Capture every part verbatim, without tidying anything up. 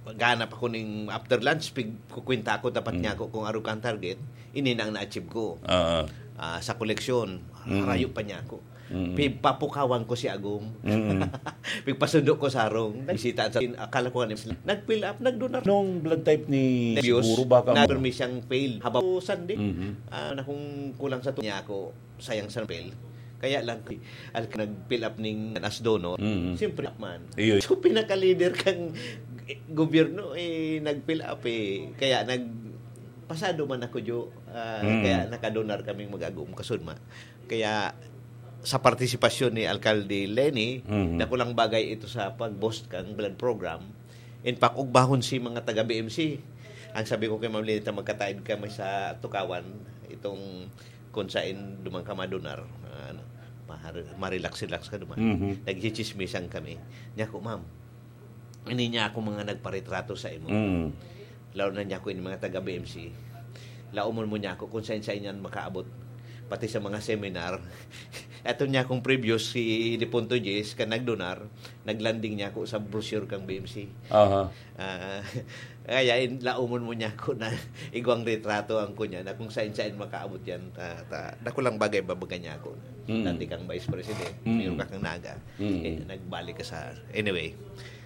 Maghanap ako ning after lunch, pig-, kukwenta ako, dapat niya ako kung arog kang target, ini na ang na-achieve ko. Oo. Ah, sa koleksyon, harayo pa niya ako. Mm. Pigpapukawan ko si Agum. Mm. Pigpasundo ko sa harong. Nagbisita sa, akala ko nga, nag-fill up, nagdonar. Nung blood type ni Nervyos, siguro baka na mo- permi siyang fail. Habang Sunday, Mhm. ah, na kung kulang sa tu-, niya ako, sayang sa fail. Kaya lang, al-, nag-fill up ning as donor. Mhm. Siyempre, man. Iyo. So, pinaka-leader kang gobyerno, eh, nag-fill up, eh. Kaya nag-, pasado man ako, Jo. Ah, Mm. kaya nakadonar kaming mag-Agum, kasudma. Kaya, sa partisipasyon ni Alkalde Leni, Mhm. dakulang bagay ito sa pag-boost kang blood program. In fact, ugbahon si mga taga B M C. Ang sabi ko kay Ma'am Lenita, magkataid kami sa Tukawan, itong kung saan duman ka madonar, ah, ano, mahar-, marelax-relax ka duman. Mhm. Nagchichismisan kami. Niya ko, "Ma'am, ini niya ako mga nagparetrato sa imo." Mm. Lalo na niya ko yung mga taga B M C. Laomon mo niya ako kung saan-saan yan makaabot. Pati sa mga seminar. Ato niya akong previous si Dipunto Jess, ka nagdonar, naglanding niya ako sa brochure kang B M C. Aha. Ah, kaya in, laomon mo niya ako na igwang retrato ang kunya na kung saan-saan makaabot yan. Ta, ta, dakulang bagay babaga niya ako. Mm. Dati kang vice president, Mm. mayroon ka kang naga. Mm. Eh, nagbalik ka sa, anyway.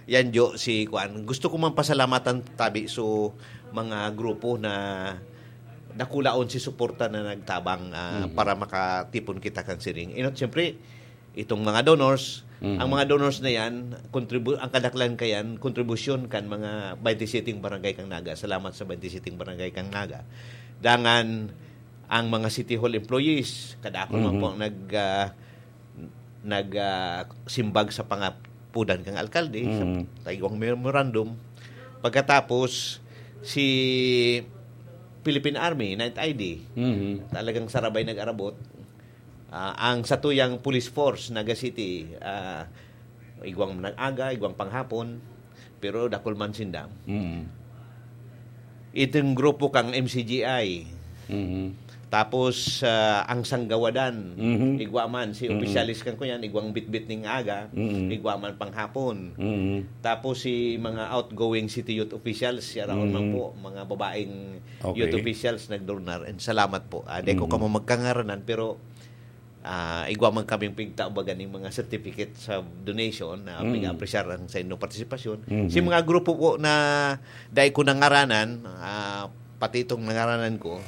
Yan, Jo, si Kuan. Gusto ko man pasalamatan tabi so mga grupo na nakulaon si suporta na nagtabang, ah, Mhm. para makatipon kita kang siring. Inot, siyempre, itong mga donors, Mhm. ang mga donors na yan, kontribu-, ang kadaklan kayan, kontribusyon kan mga twenty-seven barangay kang Naga. Salamat sa twenty-seven barangay kang Naga. Dangan, ang mga City Hall employees, kadakol man Mhm. po ang nag, ah, nag, ah, simbag sa pangapudan kang alkalde, sa Mhm. taigwang memorandum. Pagkatapos, si Philippine Army, Ninth I D, Mhm. talagang sarabay nag-arabot. Ah, ang satuyang police force, Naga City, ah, igwang nag-aga, igwang panghapon, pero dakul man sinda. Mm. Itong grupo kang M C G I. Mhm. Tapos, ah, ang Sanggawadan, Mhm. igwa man, si Mhm. opisyalis kan kuyan, igwang bitbit ning aga, Mhm. igwa man panghapon. Mhm. Tapos si mga outgoing city youth officials, siya raon man Mhm. po, mga babaeng Okay. youth officials nagdurnar. And salamat po. Ah, di ko Mhm. kamo magkangaranan, pero ah, igwa man kaming pigtao baga ning mga certificate sa donation na Mm. pig-apresyar ang sa inyong partisipasyon. Mhm. Si mga grupo po na dai ko nangaranan, ah, pati itong nangaranan ko,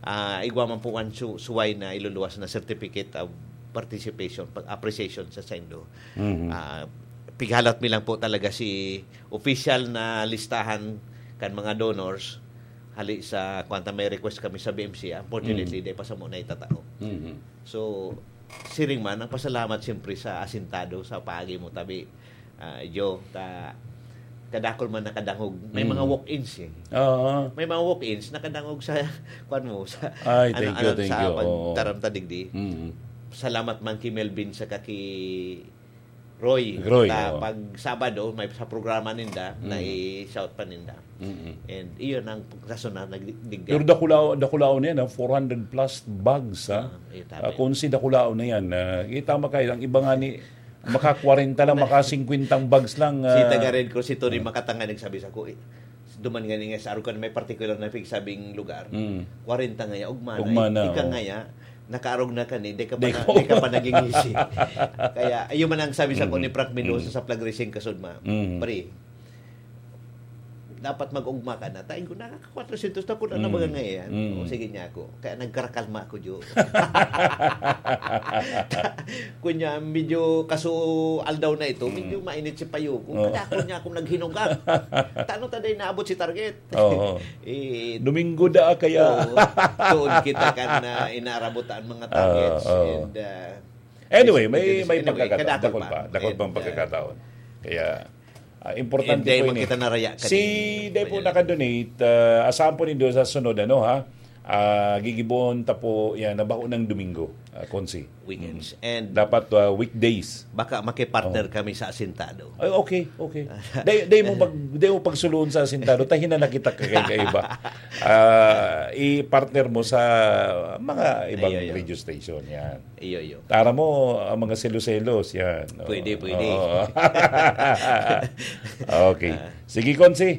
ah, igwa man po ang su-, suway na iluluwas na certificate of participation, pag-, appreciation sa saindo. Mhm. Ah, pighalat mi lang po talaga si official na listahan kan mga donors, hali sa kwanta may request kami sa B M C, unfortunately, Mhm. di pa sa muna itatao. Mhm. So, siring man, ang pasalamat siyempre sa asintado, sa paagi mo tabi, ah, Jo, ta-, kadakol man nakadangog. May mga Mm. walk-ins eh. Oo. May mga walk-ins nakadangog sa, kwan mo, sa, Ay, ano, thank you, ano, thank sa you. Oo. pagtaram ta digdi. Mm. Salamat man ki Melvin sa kaki Roy. Roy, Ta, oo. pag Sabado, may sa programa ninda, Mm. nai-shout pa ninda. Mm-mm. And iyon ang rason na nagdigdi. Pero dakulaw-, dakulaw na yan, ah, four hundred plus bags, ah. Ah, eh, tabi. Ah, kung si dakulaw na yan, ah, kita makaya, ang iba nga ni, maka kwarenta lang, maka singkwentang bags lang, Si ah. taga Red Cross, si Tony Ah. Makatanga nagsabi sa ko, eh, duman nga niya sa Arucan, may particular na pigsabing lugar. Mm. Kwarenta nga yan, ugma na, Ugma eh. na, Ika oo. nga yan, nakaarog na ka ni, di ka pa Di na, ko. di ka pa naging ngisi. Kaya, ayun man ang sabi sa ko Mm. ni Frank Mendoza Mm. sa Flag Raising Kasudma. Mm. Pre, dapat mag-ugma ka na. Tayo ko, nakaka-kwatrosyentos na ko na Mm. nabaga ngayon. Mm. O, sige niya ako. Kaya nagkarakalma ako, Jo. Kunya, medyo kaso aldaw na ito, Mm. medyo mainit si payo ko. Oo. Kaya ako niya akong naghinugak. Tano ta day naabot si target? Oo. Eh, Domingo da kaya. Oo. Doon kita kan, ah, inaarabot ang mga targets. Oo, oo. And, ah, Anyway, may, may anyway, pagkakataon. kadakol Dakol pa. pa. Dakol And, pang ah, pagkakataon. Kaya, ah, importante and, eh, po ini. magkita na raya Si kaning Day po kuya. naka-donate, ah, asahan po nindo sa sunod, ano, ha? Ah, gigibon ta po yan, na bako ng Domingo, ah, Konsi. Weekends. Mm. And Dapat, ah, weekdays. baka makipartner Oh. kami sa asintado. Ay, okay, okay. Day, day mo pag, day mo pagsuluon sa asintado, tahinan na kita kay, kay iba. Ah, i-partner mo sa mga ibang Ay, ay, ay. radio station, yan. Iyo, iyo. Tara mo, ang mga selos-selos, yan. Pwede, Oo. pwede. Oo. Okay. Ah. Sige, Konsi.